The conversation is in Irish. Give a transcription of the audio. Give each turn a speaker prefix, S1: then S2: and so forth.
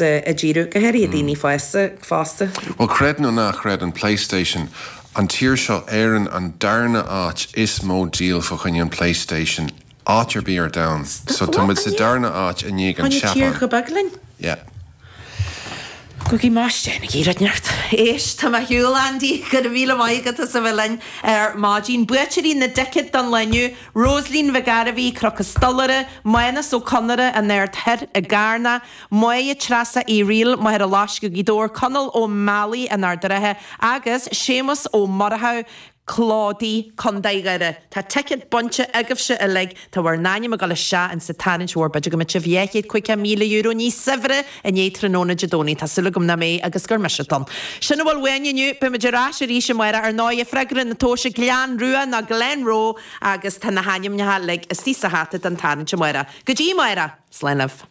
S1: ag díriú, go háirithe daoine fásta fosta.
S2: Bhuel, creid nó ná creid, an PlayStation, an tír seo, Éirinn, an darna áit is mó díol fá choinne an PlayStation áit ar bith ar domhan. So tá muid sa darna áit i ndiaidh an
S1: Tháinig tír
S2: tSeapáin.
S1: chomh beag linn.
S2: Yeah.
S1: Go maiste ag iarraidh neart. Éist, tá mé ar shiúl, Andy, go raibh míle maith agat as a bheith linn ar maidin. Buaiteoirí na dticéad don lá inniu, Rosaleen Mhic Gairbhí, Cnoc an Stolaire, Mánas Ó Conaire, An Aird Thoir i gCarna, Máire Treasa Uí Fhrighil, Machaire Loiscthe, Gaoth Dobhair, Conall Ó Meallaigh, An Ard an Rátha agus Séamus Ó Murchú, Clódaí, Contae Dhoire. Tá ticéad bainte agaibhse uilig. Tá bhur n-ainm ag dul isteach insa tarraingt mhór. B'fhéidir go mbeidh sibh €250,000 níos saibhre i ndiaidh tráthnóna Dé Domhnaigh. Tá súil agam nach mbeidh agus gur mise atá ann. Sin a bhfuil uainn inniu. Beidh muid ar ais arís amárach. Ar ndóigh, freagra na tomhaise Gleann Rua nó Glenroe agus tá na hainmneacha uilig istigh sa hata don tarraingt amárach. Go dtí amárach! Slán libh.